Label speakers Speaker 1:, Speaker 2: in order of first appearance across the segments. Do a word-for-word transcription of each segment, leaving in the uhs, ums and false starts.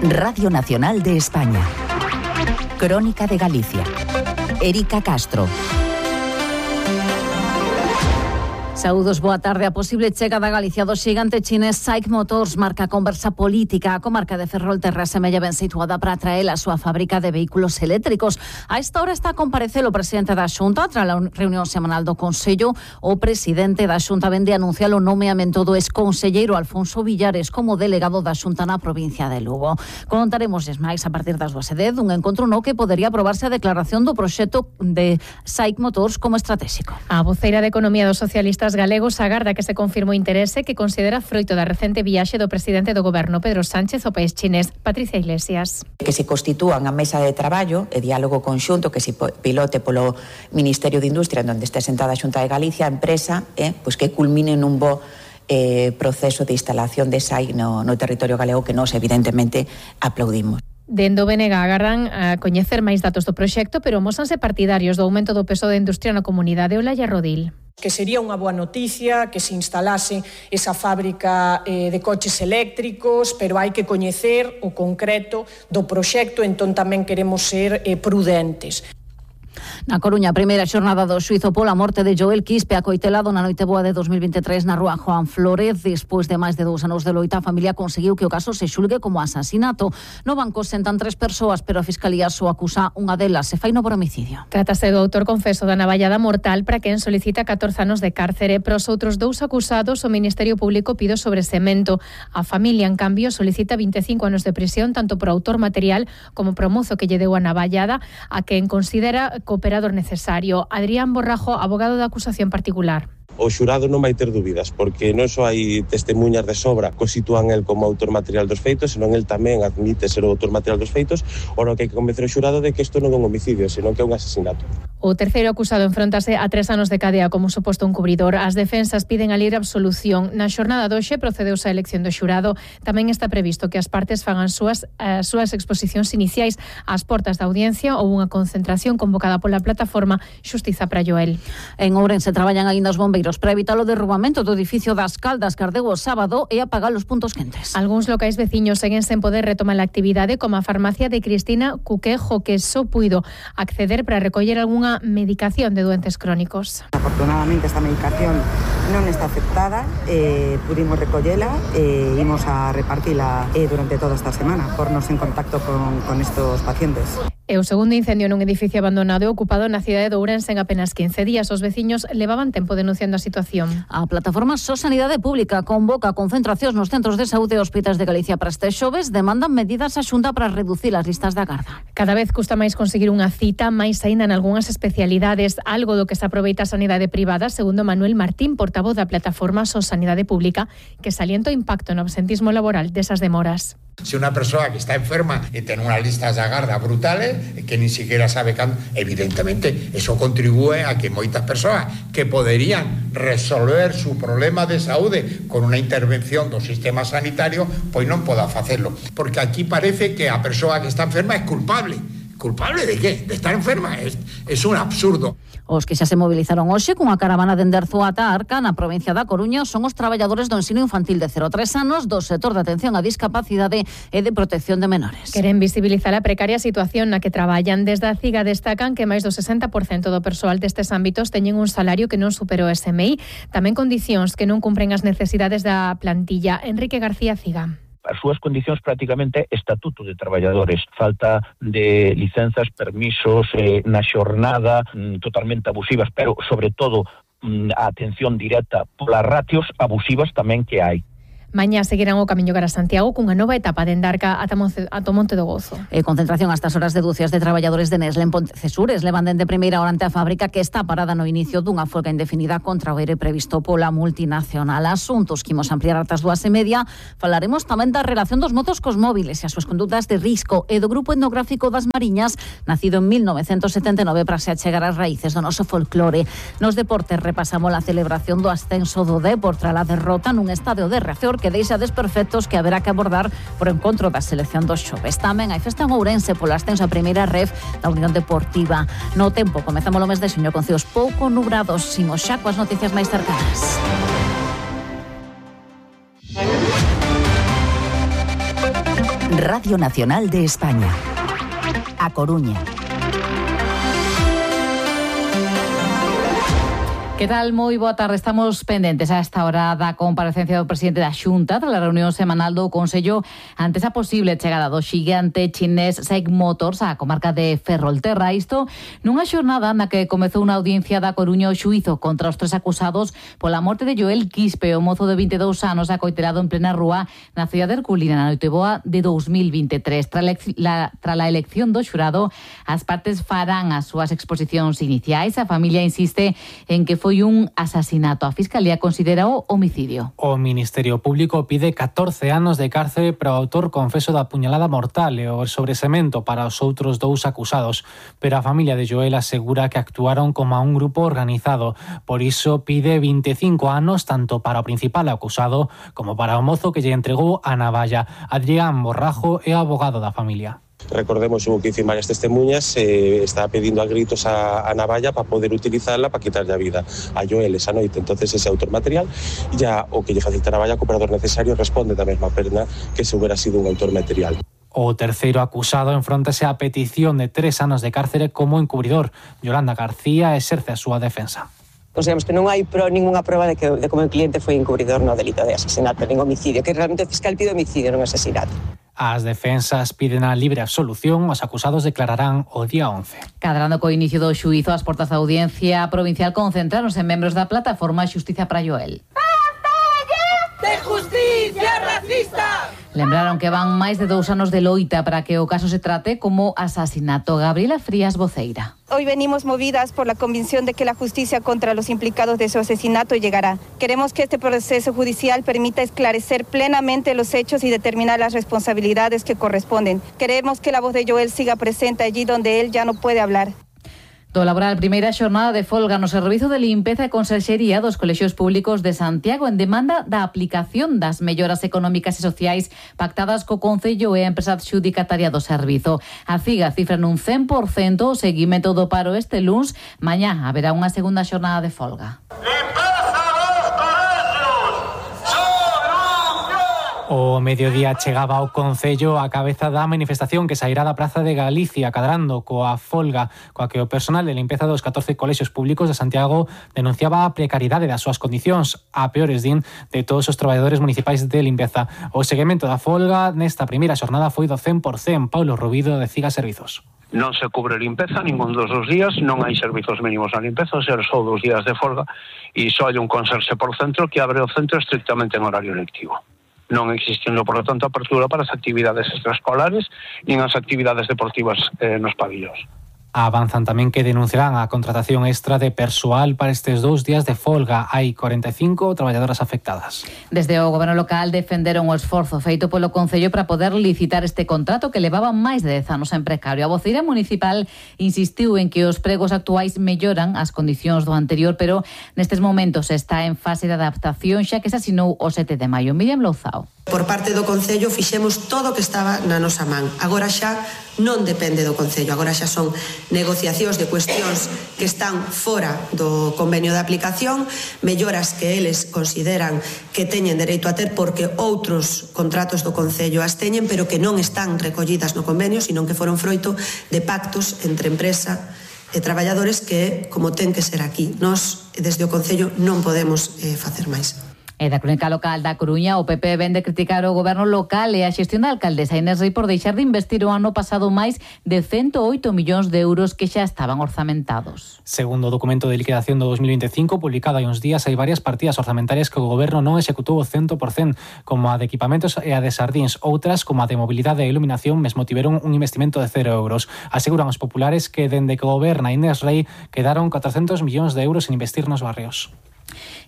Speaker 1: Radio Nacional de España. Crónica de Galicia. Erika Castro. Saúdos, boa tarde. A posible chega da Galicia do xigante chinés SAIC Motors marca a conversa política. A comarca de Ferrolterra semella ben situada para atraer a súa fábrica de vehículos eléctricos. A esta hora está a comparecer o presidente da Xunta tras a reunión semanal do Consello. O presidente da Xunta vende anunciar o nomeamento do exconselleiro Alfonso Villares como delegado da Xunta na provincia de Lugo. Contaremos máis a partir das dúas e dez dun encontro no que podería aprobarse a declaración do proxecto de SAIC Motors como estratégico.
Speaker 2: A voceira de Economía dos Socialistas galegos agarda que se confirme o interese que considera froito da recente viaxe do presidente do goberno Pedro Sánchez ao país chinés. Patricia Iglesias.
Speaker 3: Que se constitúan a mesa de traballo e diálogo conxunto que se pilote polo Ministerio de Industria onde este sentada a Xunta de Galicia, a empresa, eh, pois que culmine nun bo eh, proceso de instalación de SAIC no, no territorio galego que nós evidentemente aplaudimos.
Speaker 2: Dende o B N G agardan a coñecer máis datos do proxecto, pero mósanse partidarios do aumento do peso da industria na comunidade. Olaya Rodil.
Speaker 4: Que sería unha boa noticia que se instalase esa fábrica eh, de coches eléctricos, pero hai que coñecer o concreto do proxecto, entón tamén queremos ser eh, prudentes.
Speaker 1: Na Coruña, a primeira xornada do xuízo pola morte de Joel Quispe, acoitelado na noite boa de dos mil vinte e tres na rúa Juan Flórez. Despois de máis de dous anos de loita, a familia conseguiu que o caso se xulgue como asasinato. No banco sentan tres persoas, pero a Fiscalía só acusa unha delas, se fai no por homicidio.
Speaker 2: Trátase do autor confeso da navallada mortal para quen solicita catorce anos de cárcere. Para os outros dous acusados, o Ministerio Público pide o sobresemento. A familia, en cambio, solicita vinte e cinco anos de prisión tanto por autor material como por o mozo que lle deu a navallada, a quen considera cooperador necesario. Adrián Borrajo, abogado da acusación particular.
Speaker 5: O xurado non vai ter dúbidas, porque non só hai testemunhas de sobra que o sitúan el como autor material dos feitos, senón el tamén admite ser o autor material dos feitos, ora que hai que convencer o xurado de que isto non é un homicidio, senón que é un asesinato.
Speaker 2: O terceiro acusado enfrontase a tres anos de cadea como suposto encubridor. As defensas piden a libre absolución. Na xornada de hoxe procedeuse a elección do xurado. Tamén está previsto que as partes fagan súas, as súas exposicións iniciais ás portas da audiencia ou unha concentración convocada pola plataforma Xustiza para Joel.
Speaker 1: En Ourense traballan aínda os bombeiros para evitar o derrubamento do edificio das Caldas que ardeu o sábado e apagar os puntos quentes.
Speaker 2: Algúns locais veciños seguen sen poder retomar a actividade, como a farmacia de Cristina Cuquejo, que só puido acceder para recoller algunha medicación de doentes crónicos.
Speaker 6: Afortunadamente esta medicación non está aceptada, eh, pudimos recollela e eh, imos a repartila eh, durante toda esta semana, pornos en contacto con, con estos pacientes.
Speaker 2: E o segundo incendio nun edificio abandonado e ocupado na cidade de Ourense en apenas quince días. Os veciños levaban tempo denunciando a situación.
Speaker 1: A plataforma So Sanidade Pública convoca concentracións nos centros de saúde e hospitais de Galicia para este xoves. Demandan medidas a Xunta para reducir as listas de agarda.
Speaker 2: Cada vez custa máis conseguir unha cita, máis aínda en algunhas especialidades, algo do que se aproveita a sanidade privada, segundo Manuel Martín, portavoz da plataforma So Sanidade Pública, que salienta o impacto no absentismo laboral desas demoras.
Speaker 7: Se unha persoa que está enferma e ten unhas listas de agarda brutales, que ni siquiera sabe cando, evidentemente, eso contribúe a que moitas persoas que poderían resolver su problema de saúde con unha intervención do sistema sanitario, pois non poda facelo. Porque aquí parece que a persoa que está enferma é culpable. ¿Culpable de qué? ¿De estar enferma? Es, es un absurdo.
Speaker 1: Os que xa se movilizaron hoxe cunha caravana dende Arzúa ata Arca na provincia da Coruña son os traballadores do ensino infantil de cero a tres anos do sector de atención á discapacidade e de protección de menores.
Speaker 2: Queren visibilizar a precaria situación na que traballan. Desde a CIGA destacan que máis do sesenta por cento do persoal destes ámbitos teñen un salario que non supera o S M I, tamén condicións que non cumpren as necesidades da plantilla. Enrique García, CIGA.
Speaker 8: As súas condicións prácticamente estatuto de traballadores, falta de licenzas, permisos, eh, na xornada, mm, totalmente abusivas, pero sobre todo mm, a atención directa polas ratios abusivas tamén que hai.
Speaker 2: Mañá seguirán o camiño cara a Santiago cunha nova etapa de Endarca ata Monte, ata Monte do Gozo.
Speaker 1: E concentración a estas horas de dúcias de traballadores de Nestlé en Pontecesures levan dende primeira hora ante a fábrica que está parada no inicio dunha folga indefinida contra o ere previsto pola multinacional. Asuntos que imos ampliar ata as dúas e media. Falaremos tamén da relación dos motos cos móviles e as súas condutas de risco e do grupo etnográfico das Mariñas, nacido en mil novecentos setenta e nove para se achegar as raíces do noso folclore. Nos deportes repasamos a celebración do ascenso do Dépor tras a derrota nun estadio de Riazor que deixa desperfectos que haberá que abordar por encontro da selección dos xoves. Tamén hai festa en Ourense polo ascenso a primeira ref da Unión Deportiva. No tempo, comezamos o mes de xuño con ceos pouco nubrados. Imos xa coas noticias máis cercanas.
Speaker 9: Radio Nacional de España. A Coruña.
Speaker 1: Que tal? Moi boa tarde. Estamos pendentes a esta hora da comparecencia do presidente da Xunta tras a reunión semanal do Consello antes a posible chegada do xigante chinés SEIC Motors á comarca de Ferrolterra. Isto nunha xornada na que comezou unha audiencia da Coruña o xuízo contra os tres acusados pola morte de Joel Quispe, o mozo de vinte e dous anos acoiterado en plena rúa na cidade de Herculina na Noiteboa de dos mil veintitrés. Tra la, tra la elección do xurado, as partes farán as súas exposicións iniciais. A familia insiste en que foi foi un asasinato. A Fiscalía considera o homicidio.
Speaker 10: O Ministerio Público pide catorce anos de cárcere para o autor confeso da puñalada mortal e o sobresemento para os outros dous acusados, pero a familia de Joel asegura que actuaron como a un grupo organizado. Por iso pide vinte e cinco anos tanto para o principal acusado como para o mozo que lle entregou a navalla. Adrián Borrajo é abogado da familia.
Speaker 5: Recordemos, hubo que dicir varias testemunhas, eh, estaba pedindo a gritos a, a navalla para poder utilizarla para quitarle a vida a Joel esa noite. Entonces ese autor material ya o que lle facilita a navalla co operador necesario responde da mesma pena que se hubiera sido un autor material.
Speaker 10: O terceiro acusado enfróntase á petición de tres anos de cárcere como encubridor. Yolanda García exerce a súa defensa.
Speaker 11: Consideramos que non hai pro, ninguna prova de que de como o cliente foi encubridor no delito de asesinato, nin homicidio, que realmente o fiscal pide homicidio, non asesinato.
Speaker 10: As defensas piden a libre absolución, os acusados declararán o día once.
Speaker 1: Cadrando co inicio do xuízo, as portas da audiencia provincial concentráronse en membros da plataforma Xustiza para Joel.
Speaker 12: ¡De justicia racista!
Speaker 1: Lembraron que van máis de dous anos de loita para que o caso se trate como asasinato. Gabriela Frías, voceira.
Speaker 13: Hoy venimos movidas por la convicción de que la justicia contra los implicados de su asesinato llegará. Queremos que este proceso judicial permita esclarecer plenamente los hechos y determinar las responsabilidades que corresponden. Queremos que la voz de Joel siga presente allí donde él ya no puede hablar.
Speaker 1: Do laboral, primeira xornada de folga no Servizo de Limpeza e Conserxería dos Colexios Públicos de Santiago en demanda da aplicación das melloras económicas e sociais pactadas co Concello e a empresa adxudicataria do servizo. A CIGA cifra nun cen por cento o seguimento do paro este luns. Mañá haberá unha segunda xornada de folga.
Speaker 10: O mediodía chegaba ao Concello a cabeza da manifestación que sairá da Praza de Galicia cadrando coa folga coa que o personal de limpeza dos catorce colexios públicos de Santiago denunciaba a precariedade das súas condicións, a peores din de todos os traballadores municipais de limpeza. O seguimento da folga nesta primeira xornada foi do cen por cento. Paulo Rubido, de CIGA Servizos.
Speaker 14: Non se cubre limpeza ningún dos dos días, non hai servizos mínimos na limpeza, ou seja, só dos días de folga, e só hai un conserxe por centro que abre o centro estrictamente en horario lectivo. Non existindo, por lo tanto, apertura para as actividades extraescolares nin as actividades deportivas eh, nos pabillóns.
Speaker 10: Avanzan tamén que denunciarán a contratación extra de persoal para estes dous días de folga. Hai corenta e cinco traballadoras afectadas.
Speaker 1: Desde o Goberno local defenderon o esforzo feito polo Concello para poder licitar este contrato que levaba máis de dez anos en precario. A voceira municipal insistiu en que os pregos actuais melloran as condicións do anterior, pero nestes momentos está en fase de adaptación xa que se asinou o sete de maio. Miriam Louzao.
Speaker 15: Por parte do Concello fixemos todo o que estaba na nosa man. Agora xa non depende do Concello, agora xa son negociacións de cuestións que están fora do convenio de aplicación, melloras que eles consideran que teñen dereito a ter porque outros contratos do Concello as teñen, pero que non están recollidas no convenio, sino que foron froito de pactos entre empresa e traballadores que, como ten que ser aquí, nós, desde o Concello, non podemos eh, facer máis.
Speaker 1: E da crónica local da Coruña, o P P vén de criticar o goberno local e a xestión da alcaldesa Inés Rei por deixar de investir o ano pasado máis de ciento oito millóns de euros que xa estaban orzamentados.
Speaker 10: Segundo o documento de liquidación do dos mil veinticinco, publicado hai uns días, hai varias partidas orzamentarias que o goberno non executou o cen por cento, como a de equipamentos e a de sardíns. Outras, como a de mobilidade e iluminación, mesmo tiveron un investimento de cero euros. Aseguran os populares que, dende que goberna Inés Rei, quedaron catrocentos millóns de euros en investir nos barrios.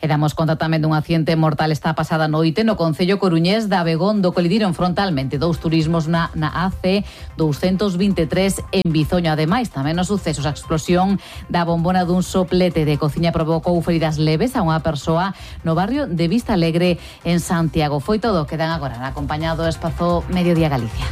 Speaker 1: E damos conta tamén dun accidente mortal esta pasada noite no concello coruñés de Abegondo. Colidiron frontalmente dous turismos na, na A C doscientos veintitrés en Bizoño. Ademais, tamén nos sucesos, a explosión da bombona dun soplete de cociña provocou feridas leves a unha persoa no barrio de Vista Alegre en Santiago. Foi todo, quedan agora na compañía do espazo Mediodía Galicia.